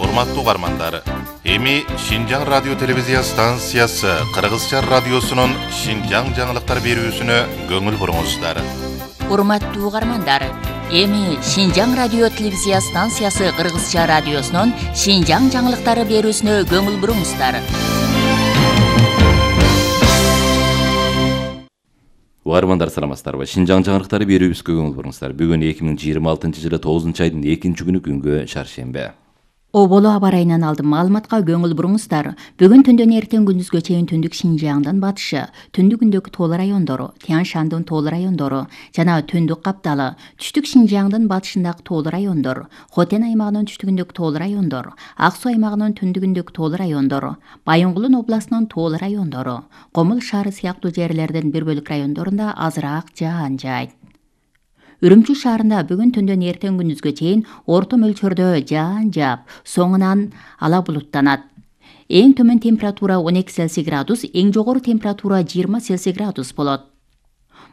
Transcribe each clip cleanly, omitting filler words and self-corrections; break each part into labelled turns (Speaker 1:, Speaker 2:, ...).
Speaker 1: Урматтуу угармандар, эми Шинжаң радио телевизия станциясы Кыргызча радиосунун Шинжаң жаңылыктар берүүсүнө көңүл буруңуздар.
Speaker 2: Урматтуу угармандар, эми Шинжаң радио телевизия станциясы Кыргызча радиосунун Шинжаң жаңылыктары берүүсүнө көңүл буруңуздар.
Speaker 3: Угармандар саламатсыздарбы? Шинжаң жаңылыктары берүүбүзгө көңүл буруңуздар. Бүгүн 2026-жылы 9-айдын 2-күнү күнгө шаршембе.
Speaker 2: Оболо аба ырайынан алдым маалыматка көңүл буруңуздар. Бүгүн түндөн эртең күндүзгө чейин түндүк Шинжаңдын батышы, түндүгүндөгү тоол райондору, Тянь-Шандын тоол райондору жана түндүк Капталы, түштүк Шинжаңдын батышындагы тоол райондор, Хотен аймагынын түштүгүндөгү тоол райондор, Ак Суу аймагынын түндүгүндөгү тоол райондор, Байынгулун областынын тоол райондору, Комул шаары сыяктуу жерлердин бир бөлүк райондорунда азыраак жаан жаайт. Үрүмчү шаарында бүгүн түндөн эртең күндүзгө чейин орто мөлчөрдө жаан жаап, соңунан ала булуттанат. Эң төмөн температура 12 Цельсий градус, эң жогору температура 20 Цельсий градус болот.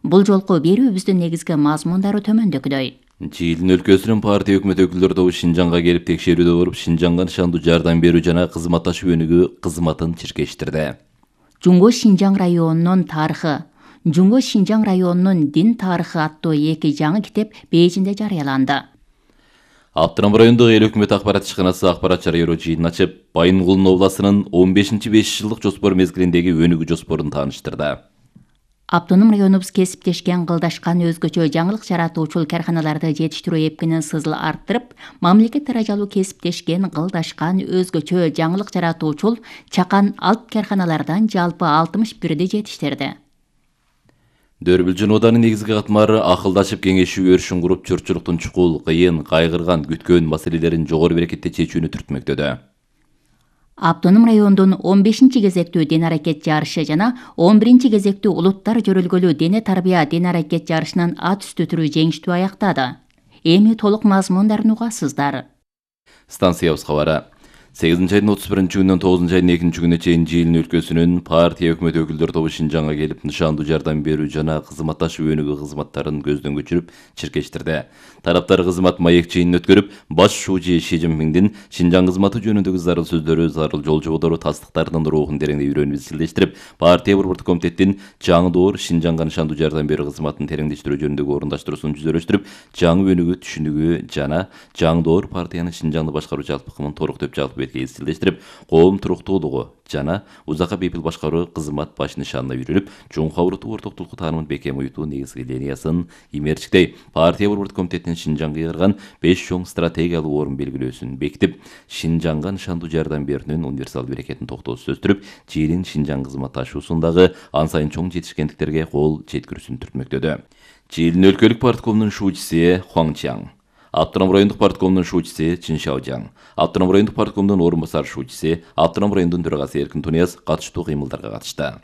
Speaker 2: Бул жолку берүүбүздүн негизги мазмундары төмөндөгүдөй.
Speaker 3: Чилин өлкөсүнүн партия өкмөт өкүлдөрү тобу Шинжаңга келип текшерүүдө болуп, Шинжаңга нышандуу жардам берүү жана кызматташуу өнүгүү кызматын чиркештирди.
Speaker 2: Жуңго Шинжаң районунун тарыхы, Жуңго Шинжаң районунун дин тарыхы аттуу 2 жаңы китеп Бейжинде жарыяланды.
Speaker 3: Аптырам райондогу эл өкмөт акпарат ишканасы акпарат жарыялоо жыйынын ачып, Байынгулун областынын 15-5 жылдык жоспор мезгилиндеги өнүгүү жоспорун тааныштырды.
Speaker 2: Автоном районубуз кесиптешкен кылдашкан өзгөчө жаңылык жаратуучул карханаларды жетиштирүү эпкинин сызыл арттырып, мамлекет даражалуу кесиптешкен кылдашкан өзгөчө жаңылык жаратуучул чакан алп карханалардан жалпы 61ди жетиштирди.
Speaker 3: Дөрбүлжүн оданын негизги катмары акылдашып кеңешүү өрүшүн куруп, журтчулуктун чукул, кыйын, кайгырган, күткөн маселелерин жогору берекетте чечүүнү түртмөктөдө.
Speaker 2: Автоном райондун 15-чи кезектүү ден аракет жарышы жана 11-чи кезектүү улуттар жөрөлгөлүү дене тарбия ден аракет жарышынын ат үстү түрү жеңиштүү аяктады. Эми толук мазмундарын угасыздар.
Speaker 3: Станциябыз кабары. 8-айдын 31-күнүнөн 9-айдын 2-күнүнө чейин Чилин өлкөсүнүн партия өкмөт өкүлдөрү тобу Шинжаңга келип, нышандуу жардам берүү жана кызматташуу өнүгүү кызматтарын көздөн көчүрүп, чиркештирди. Тараптар кызмат маек жыйынын өткөрүп, баш шуучу Ши Цзиньпиндин Шинжаң кызматы жөнүндөгү зарыл сөздөрү, зарыл жол жоболору, тастыктарынын рухун тереңдей үйрөнүп изчилдештирип, партия борбордук комитеттин жаңы доор Шинжаңга нышандуу жардам берүү кызматын тереңдештирүү жөнүндөгү орундаштыруусун жүзөлөштүрүп, жаңы өнүгүү түшүнүгү жана жаңы доор партиянын Шинжаңды башкаруу жалпыкымын толуктоп жалпы бетке изчилдештирип, коом туруктуулугу жана узакка бейпил башкаруу кызмат баш нишанына үйрөнүп, чоң кабырдуу ортоктулукту таанымын бекем уютуу негизги линиясын имерчиктей, партия борбордук комитетинин Шинжаңга кыйгарган 5 чоң стратегиялуу орун белгилөөсүн бекитип, Шинжаңга нышандуу жардам берүүнүн универсалдуу берекетин токтоосуз сөздүрүп, Чилин Шинжаң кызматташуусундагы ан сайын чоң жетишкендиктерге кол жеткирүүсүн түртмөктөдө. Чилин өлкөлүк парткомунун шуучусу Хуаң Чаң, Автоном райондук парткомунун шуучусу Чин Шаожаң, Автоном райондук парткомунун орун басар шуучусу, Автоном райондун төрагасы Эркин Тунияз катыштуу кыймылдарга катышты.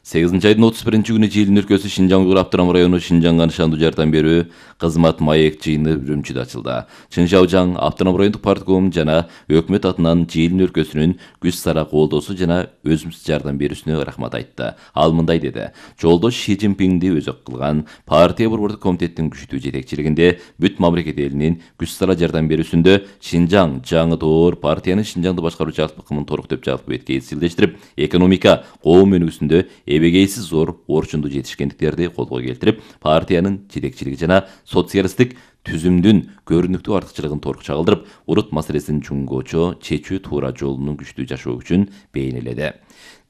Speaker 3: 8-айдын 31-күнү Чилин өлкөсү Шинжаң уйгур Автоном району Шинжаңга нышандуу жардам берүү кызмат маек жыйыны Үрүмчүдө ачылды. Чин Шаожаң Автоном райондук партком жана өкмөт атынан Чилин өлкөсүнүн күч сара колдоосу жана өзүмсүз жардам берүүсүнө рахмат айтты. Ал мындай деди: Жолдош Ши Цзиньпинди өзөк кылган партия борбордук комитеттин күчтүү жетекчилигинде бүт мамлекет элинин күч сара жардам берүүсүндө Шинжаң жаңы доор партиянын Шинжаңды башкаруу жалпыкымын толуктоп жалпы бетке изчилдештирип, экономика, коом өнүгүүсүндө эбегейсиз зор орчундуу жетишкендиктерди колго келтирип, партиянын жетекчилиги жана социалисттик түзүмдүн көрүнүктүү артыкчылыгын торк чагылдырып, урут маселесин чуңгоочо чечүү туура жолунун күчтүү жашоо күчүн бейнеледи.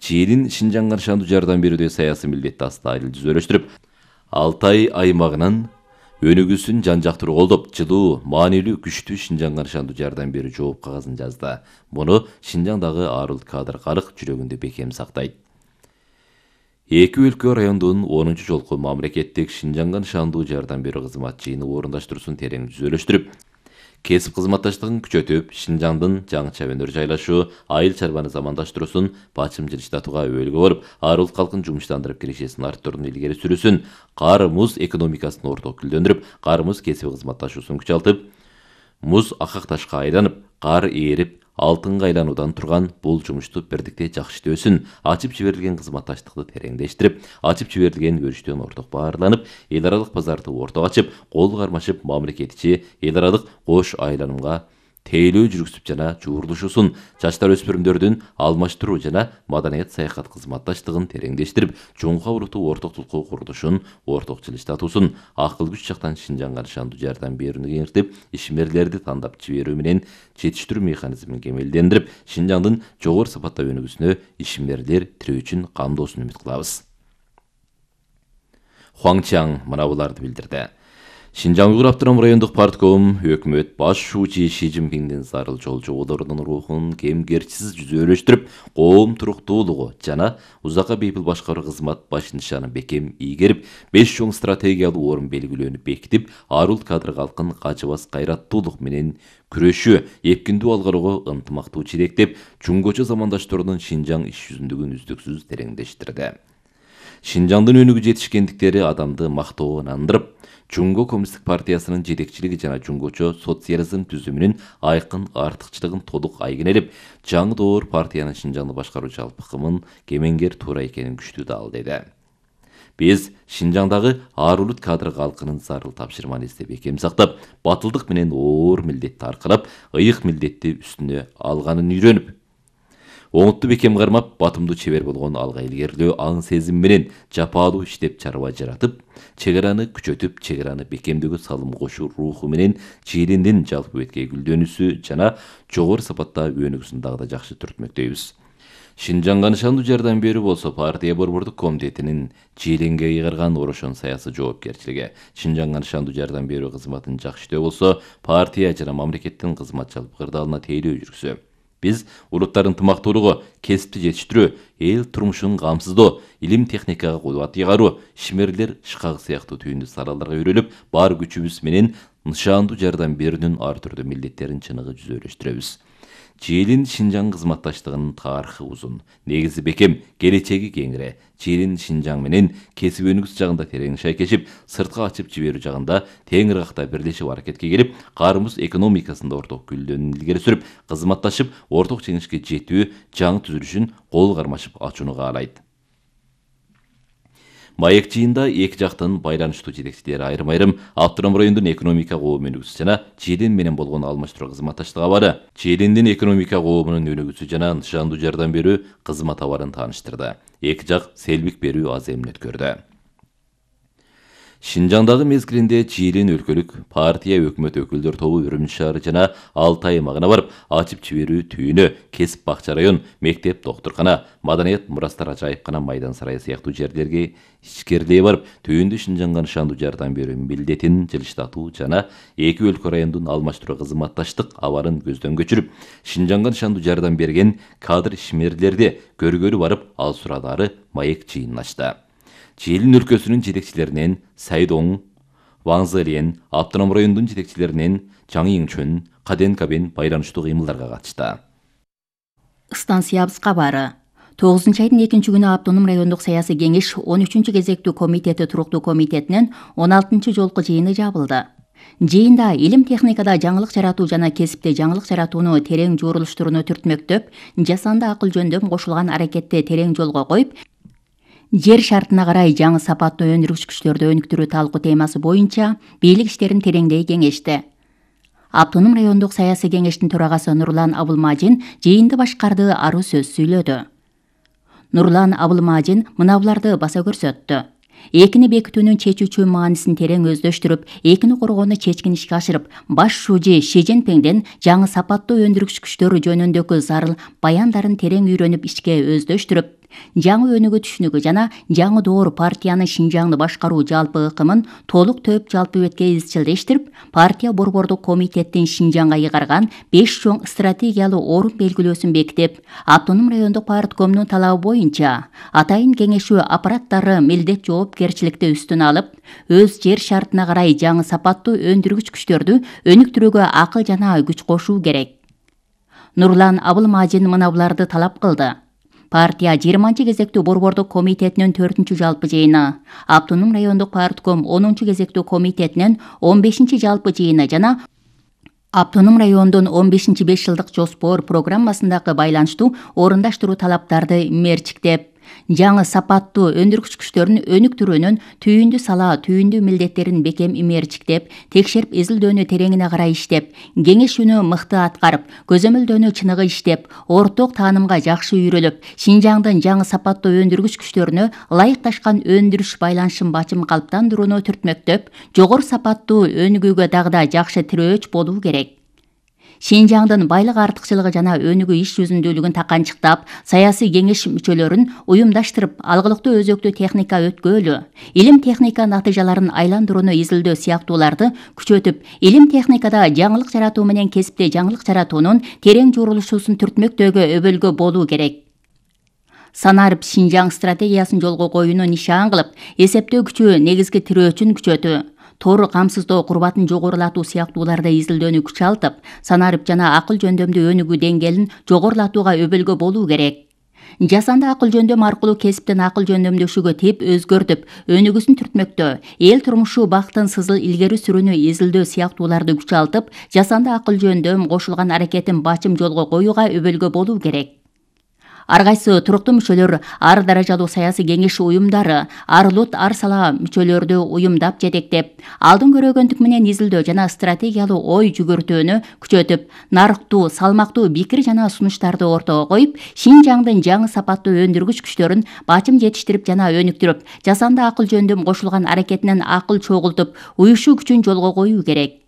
Speaker 3: Чилин Шинжаңга нышандуу жардам берүүдө саясий милдетти астайыл жүзөлөштүрүп, Алтай аймагынын өнүгүүсүн жан жактыруу колдоп, жылуу, маанилүү, күчтүү Шинжаңга нышандуу жардам берүү жооп кагазын жазды. Муну Шинжаңдагы арыл кадр карык жүрөгүндө бекем сактайт. Эки өлкө райондун 10-чу жолку мамлекеттик Шинжаңга нышандуу жардам берүү кызмат жыйыны орундаштыруусун терең жүзөлөштүрүп, кесип кызматташтыгын күчөтүп, Шинжаңдын жаңыча өнөр жайлашуу, айыл чарбаны замандаштыруусун бачым жылыштатууга өбөлгө болуп, арыл калкын жумуштандырып киришесин арттырууну илгери сүрүүсүн, кар муз экономикасын орток гүлдөндүрүп, кар муз кесип кызматташуусун күчалтып, муз акак ташка айланып, кар ээрип, алтынга айлануудан турган бул жумушту бирдикте жакшы иштөөсүн, ачып жиберилген кызматташтыкты тереңдештирип, ачып жиберилген өрүштөн орток баарланып, эл аралык базарды ортого ачып, кол кармашып, мамлекет ичи эл аралык кош айланымга тейлөө жүргүзүп жана жуурулушусун, жаштар өспүрүмдөрдүн алмаштыруу жана маданият саякат кызматташтыгын тереңдештирип, чоңка уруту ортоктулукку курулушун орток жылыштатуусун, акыл күч жактан Шинжаңга нышандуу жардам берүүнү кеңиртип, ишмерлерди тандап жиберүү менен жетиштирүү механизмин кемелдендирип, Шинжаңдын жогору сапаттуу өнүгүүсүнө ишмерлер тирөө үчүн камдоосун үмүт кылабыз. Хуаңчаң мына буларды билдирди. Шинжаң Уйгур Автономдук райондук партком өкмөт баш шуучу Ши Цзиньпиндин зарыл жол жоболорунун рухун кемгерчисиз жүзөлөштүрүп, коом туруктуулугу жана узакка бейпил башкаруу кызмат баш нишаны бекем ийгерип, 5 чоң стратегиялуу орун белгилөөнү бекитип, арул кадр калкын качыбас кайраттуулук менен күрөшүү, эпкиндүү алгарууга ынтымактуу чиректеп, чуңгочо замандаштарынын Шинжаң иш жүзүндүгүн үздүксүз тереңдештирди. Шинжаңдын өнүгүү жетишкендиктери адамды мактоого андырып, Чуңго коммунисттик партиясынын жетекчилиги жана чуңгочо социализм түзүмүнүн айкын артыкчылыгын толук айгинелеп, жаңы доор партиянын Шинжаңды башкаруу жалпы кымын кемеңгер туура экенин күчтүү далилдеди. Биз Шинжаңдагы арулут кадр калкынын зарыл тапшырманы издеп бекем сактап, батылдык менен оор милдетти аркырап, ыйык милдетти үстүнө алганын үйрөнүп, оңутту бекем кармап, батымдуу чебер болгон алга илгерлөө аң сезим менен жапаалуу иштеп чарба жаратып, чегераны күчөтүп, чегераны бекемдөөгө салым кошуу руху менен Чилиндин жалпы беткей гүлдөнүүсү жана жогору сапатта өнүгүүсүн дагы да жакшы түртмөктөйбүз. Шинжаңга нышандуу жардам берүү болсо партия борбордук комитетинин Чилинге ыйгарган орошон саясий жоопкерчилиги, Шинжаңга нышандуу жардам берүү кызматын жакшытөө болсо партия жана мамлекеттин кызмат жалпы кырдаалына тейлөө жүргүзүү. Биз улуттардын ынтымактуулугу, кесипти жетиштирүү, эл турмушун камсыздоо, илим техникага кубат ыйгаруу, ишмерлер шкагы сыяктуу түйүндүү салаларга үйрөлүп, бар күчүбүз менен нышандуу жардам берүүнүн ар түрдүү милдеттерин чыныгы жүзөлөштүрөбүз. Чилин Шинжаң кызматташтыгынын тарыхы узун, негизи бекем, келечеги кеңире. Чилин Шинжаң менен кесип өнүгүүсү жагында терең шайкешип, сыртка ачып жиберүү жагында тең ыргакта бирлешип аракетке келип, карымыз экономикасында орток гүлдөнүүнү илгери сүрүп, кызматташып, орток жеңишке жетүү, жаңы түзүлүшүн кол кармашып ачууну каалайт. Маек жыйында эки жактын байланыштуу жетекчилери айрым-айрым автономдук райондун экономика коом өнүгүүсү жана Чилин менен болгон алмаштыруу кызматташтыгы абары, Чилиндин экономика коомунун өнүгүүсү жана нышандуу жардам берүү кызмат абарын тааныштырды. Эки жак селбик берүү аз эмне өткөрдү. Шинжаңдагы мезгилинде Чилин өлкөлүк партия өкмөт өкүлдөр тобу Үрүмчү шаары жана Алтай аймагына барып, ачып жиберүү түйүнү, кесип бакча район, мектеп, доктуркана, маданият мурастар ажайыпкана, майдан сарайы сыяктуу жерлерге ичкерлей барып, түйүндү Шинжаңга нышандуу жардам берүү милдетин жылыштатуу жана эки өлкө райондун алмаштыруу кызматташтык абарын көздөн көчүрүп, Шинжаңга нышандуу жардам берген кадр ишмерлерди көргөлү барып, ал сурадары маек жыйынын ачты. Чилин өлкөсүнүн жетекчилеринен Сайдоң, Ваңзылен, автономдук райондун жетекчилеринен Чаң Ийчүн, Каден Кабен байланыштуу кыймылдарга катышты.
Speaker 2: Станциябыз кабары. 9 айдын 2 күнү автономдук райондук саясий кеңеш 13 кезектүү комитети туруктуу комитетинен 16 жолку жыйыны жабылды. Жыйында илим техникада жаңылык жаратуу жана кесипте жаңылык жаратууну терең жуурулуштурууну түртмөктөп, жасанды акыл жөндөм кошулган аракетти терең жолго коюп, жер шартына карай жаңы сапаттуу өндүргүч күчтөрдү өнүктүрүү талкуу темасы боюнча бийлик иштерин тереңдей кеңешти. Автономдук райондук саясий кеңештин төрагасы Нурлан Абылмажин жыйынды башкарды, аруу сөз сүйлөдү. Нурлан Абылмажин мынабуларды баса көрсөттү. Экини бекитүүнүн чечүүчү маанисин терең өздөштүрүп, экини коргоону чечкин ишке ашырып, баш шуучу Ши Цзиньпиндин жаңы сапаттуу өндүргүч күчтөр жөнүндөгү зарыл баяндарын терең үйрөнүп, ишке өздөштүрүп, жаңы өнүгүү түшүнүгү жана жаңы доор партиянын Шинжаңды башкаруу жалпы ыкымын толук төп жалпы бетке изчилдештирип, партия борбордук комитеттин Шинжаңга ыйгарган 5 чоң стратегиялуу орун белгилөөсүн бекитип, автономдук райондук парткомдун талабы боюнча атайын кеңешүү аппараттары милдет жоопкерчиликти үстүнө алып, өз жер шартына карай жаңы сапаттуу өндүргүч күчтөрдү өнүктүрүүгө акыл жана күч кошуу керек. Нурлан Абылмажин мынабуларды талап кылды. Партия 20 кезектүү борбордук комитетинин 4 жалпы жыйыны, автономдук райондук партком 10 кезектүү комитетинин 15 жалпы жыйыны жана автономдук райондун 15 5 жылдык жоспор программасындагы байланыштуу орундаштыруу талаптарды мерчиктеп, жаңы сапаттуу өндүргүч күчтөрүн өнүктүрүүнүн түйүндү сала түйүндү милдеттерин бекем имээрчиктеп, текшерип изилдөөнү тереңине карай иштеп, кеңешүүнү мыкты аткарып, көзөмөлдөөнү чыныгы иштеп, орток таанымга жакшы үйрөлүп, Шинжаңдын жаңы сапаттуу өндүргүч күчтөрүнө ылайыкташкан өндүрүш байланышын бачым калыптандырууну түртмөктөп, жогору сапаттуу өнүгүүгө дагы да жакшы тирөөч болуу керек. Шинжаңдын байлык артыкчылыгы жана өнүгүү иш жүзүндүүлүгүн таканчыктап, саясий кеңеш мүчөлөрүн уюмдаштырып, алгылыктуу өзөктүү техника өткөөлү, илим техника натыйжаларын айландырууну изилдөө сыяктууларды күчөтүп, илим техникада жаңылык жаратуу менен кесипте жаңылык жаратуунун терең журулушуусун түртмөктөөгө өбөлгө болуу керек. Санарып Шинжаң стратегиясын жолго коюуну нишан кылып, эсептөө күчү негизги тирөөчүн күчөтүү, тор камсыздоо курбатын жогорулатуу сыяктууларды изилдөөнү күчалтып, санарып жана акыл жөндөмдүү өнүгүү деңгээлин жогорулатууга өбөлгө болуу керек. Жасанды акыл жөндөм аркылуу кесиптен акыл жөндөмдөшүүгө тип өзгөртүп, өнүгүүсүн түртмөктөө, эл турмушу бактын сызыл илгери сүрүүнү изилдөө сыяктууларды күчалтып, жасанды акыл жөндөм кошулган аракетин бачым жолго коюуга өбөлгө болуу керек. Ар кайсы туруктуу мүчөлөр, ар даражалуу саясий кеңеш уюмдары, ар лут ар сала мүчөлөрдү уюмдап жетектеп, алдын көрөгөндүк менен изилдөө жана стратегиялуу ой жүгүртүүнү күчөтүп, нарыктуу, салмактуу пикир жана сунуштарды ортого коюп, Шинжаңдын жаңы сапаттуу өндүргүч күчтөрүн бачым жетиштирип жана өнүктүрүп, жасанды акыл жөндөм кошулган аракетинен акыл чогултуп, уюшуу күчүн жолго коюу керек.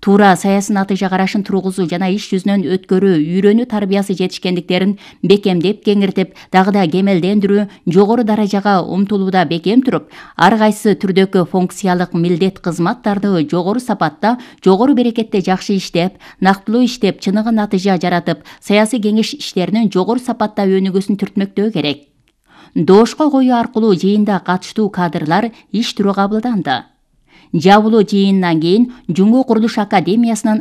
Speaker 2: Туура саясий натыйжа карашын тургузуу жана иш жүзүнөн өткөрүү, үйрөнүү тарбиясы жетишкендиктерин бекемдеп кеңиртип, дагы да кемелдендирүү, жогору даражага умтулууда бекем туруп, ар кайсы түрдөгү функциялык милдет кызматтарды жогору сапатта, жогору берекетте жакшы иштеп, нактылуу иштеп, чыныгы натыйжа жаратып, саясий кеңеш иштеринин жогору сапатта өнүгүүсүн түртмөктөө керек. Доошко коюу аркылуу жыйында катыштуу кадрлар иш түрү кабылданды. Жабылуу жыйынынан кийин Жумгу Курулуш Академиясынын